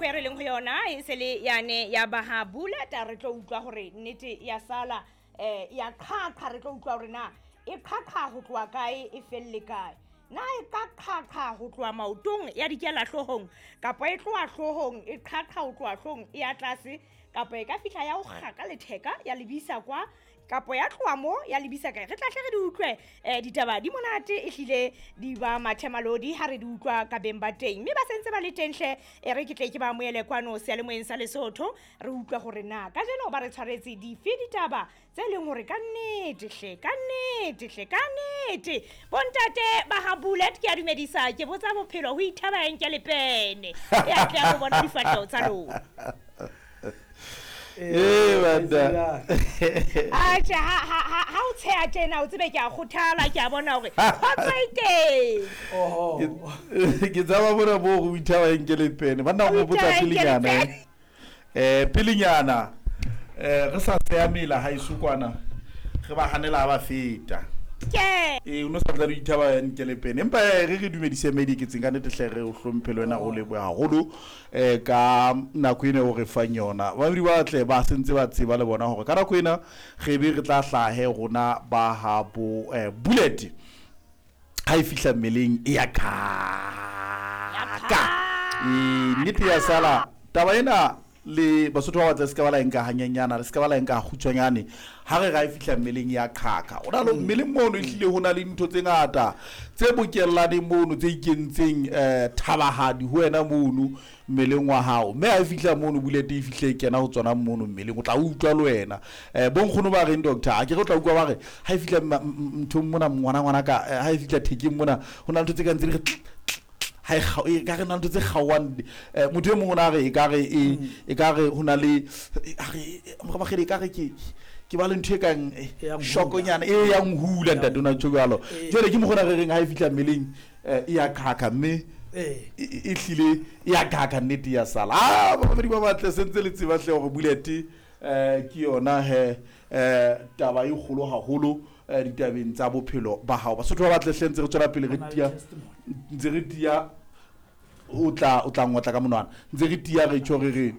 nako e re leng ho yona e se le yane ya baha buleta, re tlo utlwa hore nnete ya sala ya qhaqha. Re tlo utlwa hore na e qhaqha ho tloha kae, e felle kae. Na e ka qhaqha ho tloha maotong ya dikela hloohong, kapa e tloha hloohong e qhaqha ho tloha hloohong e ya tlase, kapa e ka fihla ya o kga ka letheka ya lebisa kwa, kapa ya tloha mo ya lebisa kae? Re tla hle re di utlwe. Ditaba di monate, ehlile di ba mathemalodi ha re di utlwa ka beng ba teng, mme ba sentse ba le teng hle. E re ke tle ke ba amohele kwano seyalemoyeng sa Lesotho, re utlwe hore na kajeno ba re tshwaretse dife ditaba tse leng hore ka nnete hle, ka nnete hle, ka nnete. Bontate ba ha Bullet, ke a dumedisa, ke botsa bophelo ho ithaba enke le pene e a tle ho bona difahleho tsa lona. Ee, banna. Atjhe, ha o tsheha tjena, o tsebe ke a kgothala, ke a bona hore kgotso e teng. Oho. Ke tsaba mona moo go ithaba enke le pene, banna, go Ho botsa ithaba enke le pelenyana pene. Pelenyana re sa tseya mela ha eso kwana, re ba hanela ha ba feta. Ke Ee, o no sa tla re ithaba enke le pene, empa re dumedise mediketseng ka nnete hle, re o hlomphe le wena, o lebohe haholo ka nako ena o re fang yona. Babedi ba tle ba sentse ba tseba le bona hore ka nako ena re be re tla hlahe rona ba ha bo Bullet ha e fihla mmeleng e ya kaka. Ee, nnete ya sala taba ena le Basotho ba batla, se ka ba la enka hanyenyana, le se ka ba la enka kgutshwanyane. Ha re ga e fihla mmeleng ya qhaka, o na le mmeleng mono, ehlile ho na le ntho tse ngata tse bokellaneng mono, tse ikentseng thabahadi ho wena mono mmeleng wa hao, mme ha e fihla mono Bullet, e fihle e kena ho tsona mono mmeleng, o tla utlwa le wena. Bonkgono ba reng, doctor, a ke re o tla utlwa ba re ha e fihla nthong mona, ngwana ngwana ka, ha e fihla thekeng mona, ho na le ntho tse kang tse di re tl- tl- ha e e ka re na le ntho tse kgaohang. Motho e mong o na re e ka re e ka re ho na le a re morabakgedi, e ka re ke ba le ntho e kang E yang hula. shokonyana e yang hula, ntate, o na tjho jwalo. Jwale ke mokgona re reng ha e fihla mmeleng e ya qhaqha, mme e hlile e ya qhaqha, nnete ya sala. A babadi ba batle sentse le tseba hle hore Bullet ke yona he taba e kgolo haholo ditabeng tsa bophelo ba hao. Basotho ba batle hle, ntse re tswela pele re Ho na le tia testimony. Ntse re tia, o tla ngotla ka monwana, ntse re tia, re tjho re re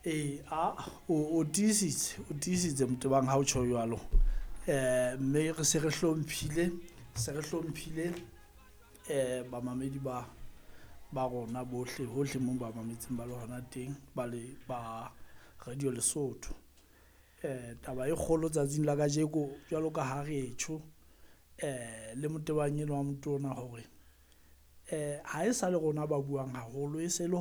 Ee, a o tiisitse, o tiisitse motebang ha o tjho jwalo. Mme re se re hlomphile, se re hlomphile bamamedi ba rona bohle hohle moo ba mametseng ba le hona teng, ba le ba Radio Lesotho. Taba e kgolo tsatsing la kajeko, jwalo ka ha re tjho le motebang enwa wa motona hore ha e sa le rona ba buang haholo, e se le.